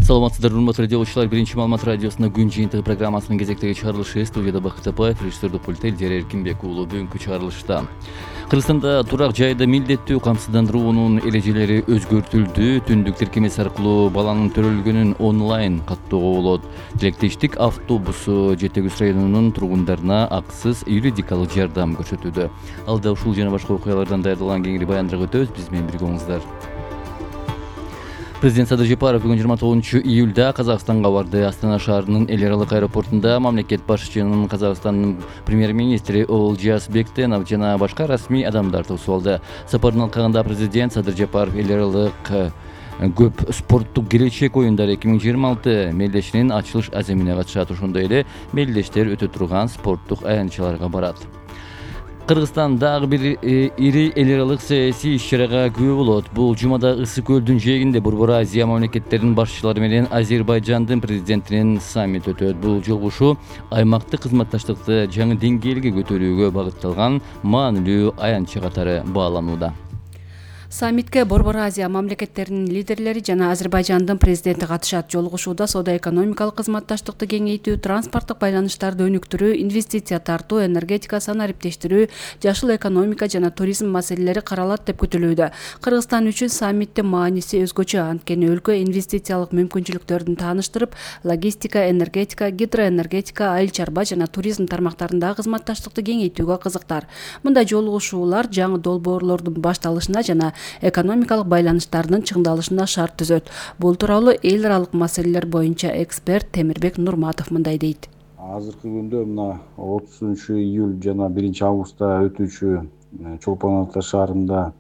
Саламатсыздар, урматтуу радиолучулар. Биринчи маалымат радиосунда күн жыйынтыгы программасынын кезектеги чыгарылышы студияда Бакыт Апаев, режиссердик пультта Элдер Эркинбек уулу. Бүгүнкү чыгарылышта Кыргызстанда турак жайда милдеттүү камсыздандыруунун эрежелери өзгөртүлдү. Түндүк тиркемеси аркылуу баланын төрөлгөнүн онлайн каттоого болот. Тилектештик автобусу Жети Күз районунун тургундарына акысыз юридикалык жардам көрсөтүүдө. Алда ушул жана башка окуялардан даярдалган кеңири баяндырып өтөбүз. Биз менен бирге болуңуздар. Президент Садыр Жапаров бүгүн 29-июлда Казакстанга барды. Астана шаарынын эл аралык аэропортунда мамлекет башчысынын Казакстандын премьер-министри Олжас Бектенов жана башка расмий адамдар тосуп алды. Сапардын алкагында президент Садыр Жапаров эл аралык көп спорттук келечек оюндары 2026 мелдешинин ачылыш аземине катышат. Ошондой эле мелдештер өтө турган спорттук аянтчаларга барат. Кыргызстан дагы бир ири эл аралык саясий иш-чарага күбө болот. Бул жумада Ысык көлдүн жээгинде Борбор Азия мамлекеттеринин башчылары менен Азербайжандын президентинин саммити өтөт. Бул жолугушуу аймактык кызматташтыкты жаңы деңгээлге көтөрүүгө багытталган маанилүү аянтча катары бааланууда. Саммитке Борбор Азия мамлекеттеринин лидерлери жана Азербайжандын президенти катышат. Жолугушууда соода-экономикалык кызматташтыкты кеңейтүү, транспорттук байланыштарды өнүктүрүү, инвестиция тартуу, энергетика санариптештирүү, жашыл экономика жана туризм маселелери каралат деп күтүлүүдө. Кыргызстан үчүн саммиттин мааниси өзгөчө, анткени өлкө инвестициялык мүмкүнчүлүктөрүн тааныштырып, логистика, энергетика, гидроэнергетика, айыл чарба жана туризм тармактарындагы кызматташтыкты кеңейтүүгө кызыктар. Мындай жолугушуулар жаңы долбоорлордун башталышына жана экономикалык байланыштардын чыңдалышына шарт түзөт. Бул тууралуу эл аралык маселелер боюнча эксперт Темирбек Нурматов мындай дейт. Азыркы күндө мына 30-июль жана 1-августта өтүүчү Чолпон Ата шаарында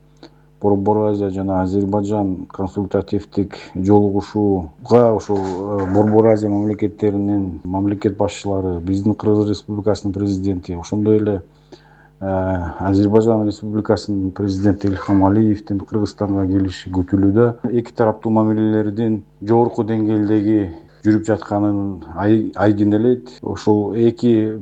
Борбор Азия жана Азербайжан консультативдик жолугушууга ошол Борбор Азия мамлекеттеринин мамлекет башчылары, биздин Кыргыз Республикасынын президенти, ошондой эле Азербайжан Республикасынын президенти Ильхам Алиевдин Кыргызстанга келиши күтүлүүдө. Эки тараптуу мамилелердин жогорку деңгээлдеги жүрүп жатканын айдын элейт. Ошол эки